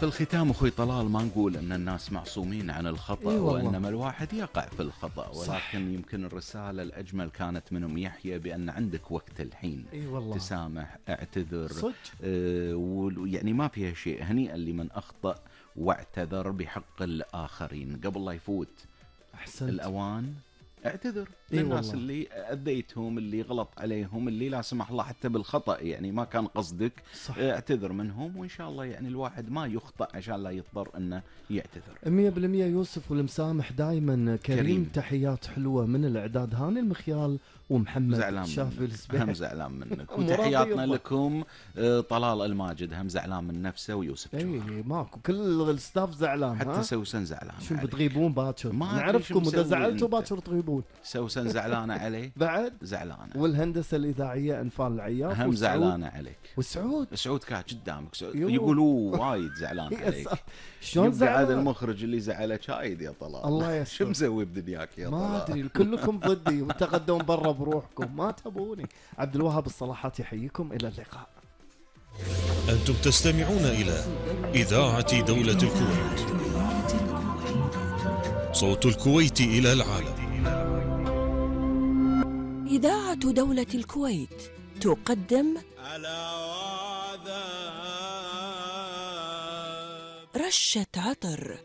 في الختام أخوي طلال ما نقول أن الناس معصومين عن الخطأ، اي والله. وإنما الواحد يقع في الخطأ، صح. ولكن يمكن الرسالة الأجمل كانت من أم يحيى بأن عندك وقت الحين اي والله. تسامح، اعتذر. صدق. يعني ما فيها شيء. هنيئا لمن أخطأ واعتذر بحق الآخرين قبل لا يفوت أحسنت. الأوان. اعتذر إيه للناس والله. اللي أذيتهم، اللي غلط عليهم، اللي لا سمح الله حتى بالخطأ يعني ما كان قصدك. صح. اعتذر منهم، وإن شاء الله يعني الواحد ما يخطأ عشان لا يضطر أنه يعتذر. 100% يوسف، والمسامح دائما كريم. تحيات حلوة من الإعداد هاني المخيال ومحمد زعلان الشافي منك. السبيعي. هم زعلان منك. مرضي وتحياتنا يضحك. لكم. طلال الماجد هم زعلان من نفسه، ويوسف اي جوهر. ماكو، كل الستاف زعلان. حتى سوسن زعلان شو عليه. بتغيبون باكر؟ ما أدري نعرفكم شو اذا مسوي زعلتوا أنت. باكر تغيبون. سوسن زعلانة عليه. بعد زعلانة. والهندسة الإذاعية أنفال العياف هم وسعود. زعلانة عليك. وسعود سعود كان قدامك. يو. يقولوا وايد زعلان يا عليك. شلون يبقى عاد زعلان؟ المخرج اللي زعلك شايد يا طلال. الله يستر. شو مسوي بدنياك يا طلال؟ ما ادري، كلكم ضدي وتقدمون برا بروحكم، ما تبوني. عبد الوهاب الصلاحات يحييكم، الى اللقاء. أنتم تستمعون إلى إذاعة دولة الكويت، صوت الكويت إلى العالم. إذاعة دولة الكويت تقدم رشة عطر.